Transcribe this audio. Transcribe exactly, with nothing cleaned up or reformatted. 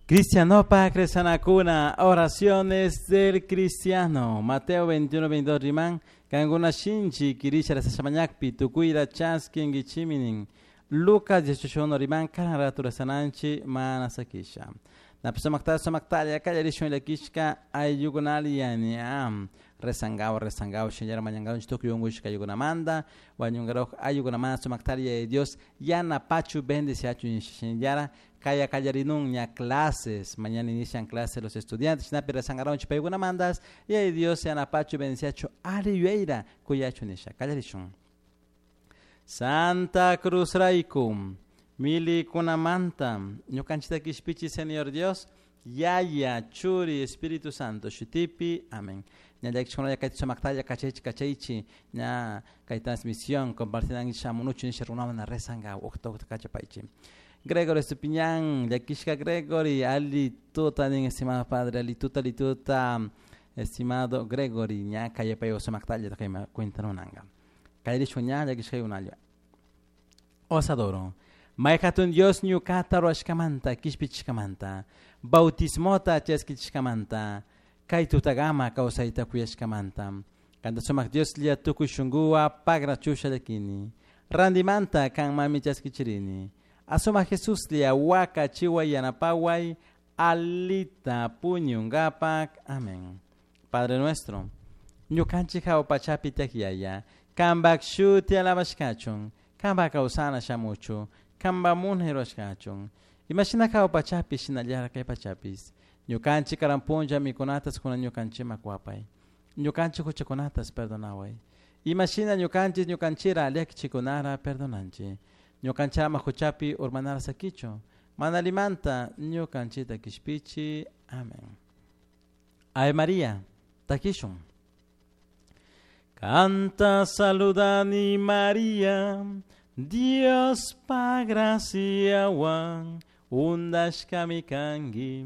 Cristianopak rezanakuna, oraciones del cristiano. Mateo veintiuno, veintidós riman, cancuna shinchi quirisha rezashamañakpi, tucuira chasquinguichiminin. Lucas dieciocho uno riman, karan ratu rezananchi mana sakisha. Napisumaktalla, sumaktalla, kallarishun llakishka ayllukunali yani rezangao, rezangao, shinllara mañangao, tukuy unkushka ayllukunamanta, wañunkaroj ayllukunamanta sumaktalla Yaya Dios yanapachu bendeciachu shinllara kaya kallarinun ña clases, mañana inician clases los estudiantes, shinapi rezangaronchi paykunamantas, Yaya Dios yanapachu bendeciachu ali yuyayra kuyachu nisha, kallarishun. Santa Cruz rayku, milikunamanta, ñukanchita kishpichi Señor Dios, Yaya, Churi, Espíritu Santo, shutipi, amén. Ña llakishkunalla kayta sumaktalla kachaychi kachaychi, ña kay transmisión compartinanki shamunuchu nisha runawan rezanga, uqta uqta kachapaychi. Gregory Estupiñán, llakishka Gregory, ali tuta nin estimado padre, ali tuta, ali tuta, estimado Gregory, ña kayapay sumaktalla kayma cuentanunanga. Kallarishun ña llakishka unalla. Os adoro. May hatun Dios ñukata ruwashkamanta, kishpichishkamanta, bautismota chaskichishkamanta, kay tutagama kawsayta kuyashkamanta. Kanta sumak Dios lla tukuy shunkuwa pagrachusha llakini. Randimanta kan mami chaskichirini. Asuma Jesús lla waka chiway yanapaway, alita puñungapak. Amén. Padre nuestro, ñukanchik hawa pachapi tiyak Yaya, kanpak shuti alabashkachun, kanpak kawsana shamuchu, kanpak munay rurashkachun. Imashina hawa pachapi shinallara kay pachapis. Ñukanchik karan punlla mikunatas kunan ñukanchikman kuwapay. Ñukanchik huchakunatas perdonaway. Imashina ñukanchik ñukanchira llakichikunara perdonanchik. Ñukanchama huchapi urmanara sakichu. Mana limanta ñukanchita kishpichi. Amén. Ave María, takishun. Canta saludani María, Dios pa graciawan, undashkami kanki.